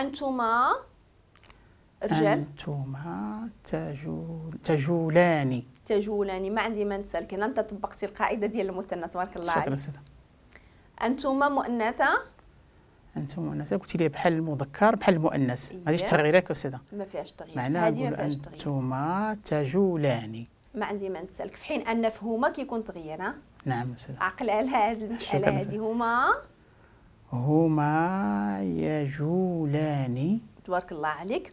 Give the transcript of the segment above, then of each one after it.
أنتما رجال. أنتما تجولان. تجولان. ما عندي ما نسالك هنا، أنت طبقتي القاعدة ديال المثنى تبارك الله عليك. شكرا سيدة. أنتما مؤنثة. أنتم مؤنثة، قلتي لي بحال المذكر بحال المؤنث، ما غاديش تغير ياك أستاذة؟ ما فيهاش تغيير، معناها هذه ما فيهاش تغيير. أنتما تجولان. ما عندي ما نسالك، في حين أن في هما كيكون تغيير. ها؟ نعم أستاذة. عقل على هذه المسألة هذه. هما يجولان. تبارك الله عليك.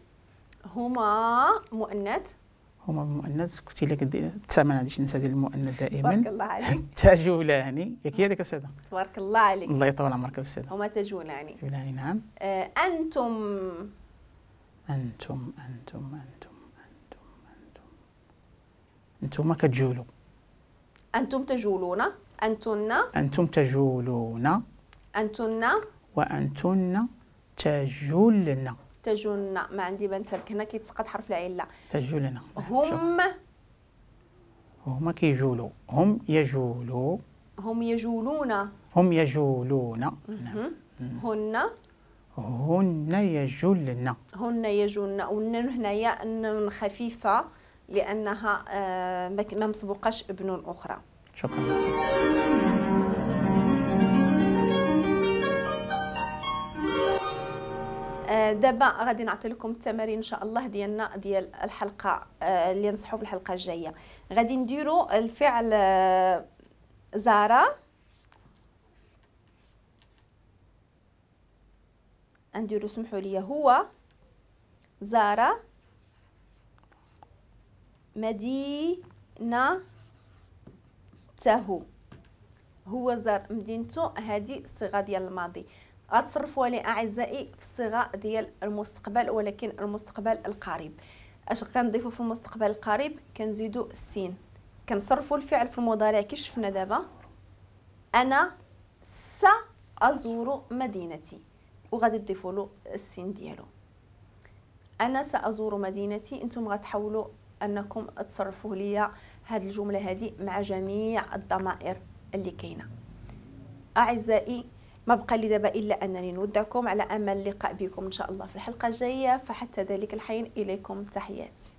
هما مؤنث. هما مؤنث، قلتي لك حتى ما غاديش ننسى ديال المؤنث دائما. تبارك الله عليك. تجولان، ياك هي هذيك أستاذة؟ تبارك الله عليك. الله يطول عمرك أستاذة. هما تجولان. تجولان نعم. أنتم. أنتم أنتم أنتم أنتم أنتم أنتم كتجولوا. أنتم تجولون. أنتن. أنتم تجولون. أنتن. وأنتن تجولن. تجولن. ما عندي ما نسالك هنا كيتسقط حرف العلة. تجولن. هم. هما كيجولوا. هم يجولوا. هم يجولون. هم يجولون. نعم. هن. هن يجولن. هن يجولن. والنون هنايا النون خفيفة لأنها ما مسبوقاش بنون أخرى. شكرا. دابا غادي نعطي لكم التمارين ان شاء الله ديالنا ديال الحلقة اللي نصحوا في الحلقة الجاية. غادي نديروا الفعل زارا، نديروا سمحوا لي هو زارا مدينته. هو زار مدينته، هذه الصيغة ديال الماضي. غتصرفوها لي اعزائي في الصيغة ديال المستقبل، ولكن المستقبل القريب. اش كنضيفوا في المستقبل القريب؟ كنزيدوا السين، كنصرفوا الفعل في المضارع كي شفنا دابا. انا سازور مدينتي، وغادي تضيفوا له السين ديالو. انا سازور مدينتي، انتم غتحاولوا انكم تصرفوا ليا هاد الجملة هادي مع جميع الضمائر اللي كاينه. اعزائي ما بقى لي دابا الا انني نودعكم على امل اللقاء بكم ان شاء الله في الحلقة الجاية، فحتى ذلك الحين اليكم تحياتي.